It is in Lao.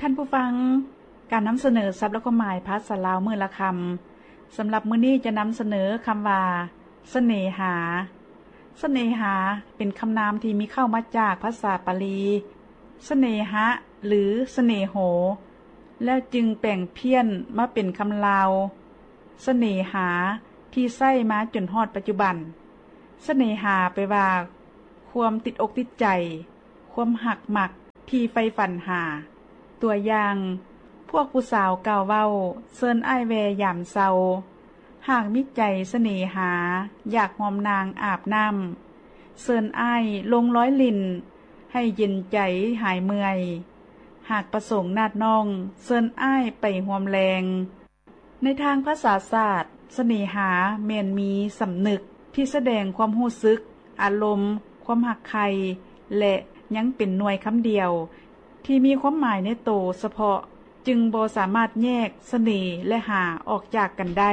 ທ່ານຜູ້ຟັງ, ການນຳສະເໜີສັບ ແລະ ຄວາມໝາຍພາສາລາວມື້ລະຄຳ. ສຳລັບມື້ນີ້ຈະນຳສະເໜີຄຳວ່າ ສະເໜຫາ. ສະເໜຫາເປັນຄຳນາມທີ່ມີເຄົ້າມາຈາກພາສາປາລີ ສະເໜຫະ ຫຼື ສະເໜໂຫ ແລ້ວຈຶ່ງແປງພຽນມາເປັນຄຳລາວ ສະເໜຫາ ທີ່ໃຊ້ມາຈົນຮອດປັດຈຸບັນ. ສະເໜຫາແປວ່າ ຄວາມຕິດອົກຕິດໃຈ, ຄວາມຮັກມັກທີ່ໃຝ່ຝັນຫາ. ຕົວຢ່າງ, ພວກຜູ້ສາວກ່າວເວົ້າ ເຊີນອ້າຍແວ່ຍາມເຊົາ. ຫາກມີໃຈສະເໜຫາ ຢາກຮ່ວມນາງອາບນ້ຳ, ເຊີນອ້າຍລົງລອຍຫຼິ້ນ ໃຫ້ເຢັນໃຈຫາຍເມື່ອຍ. ຫາກປະສົງນາດນ້ອງ ເຊີນອ້າຍໄປຮ່ວມແລງ. ໃນທາງພາສາສາດ, ສະເໜຫາແມ່ນມີສຳນຶກທີ່ສະແດງຄວາມຮູ້ສຶກ, ອາລົມ, ຄວາມຮັກໃຄ່ ແລະ ຍັງເປັນໜ່ວຍຄຳດຽວ ທີ່ມີຄວາມໝາຍໃນໂຕສະເພາະ, ຈຶ່ງບໍ່ສາມາດແຍກສະເໜ ແລະ ຫາ ອອກຈາກກັນໄດ້.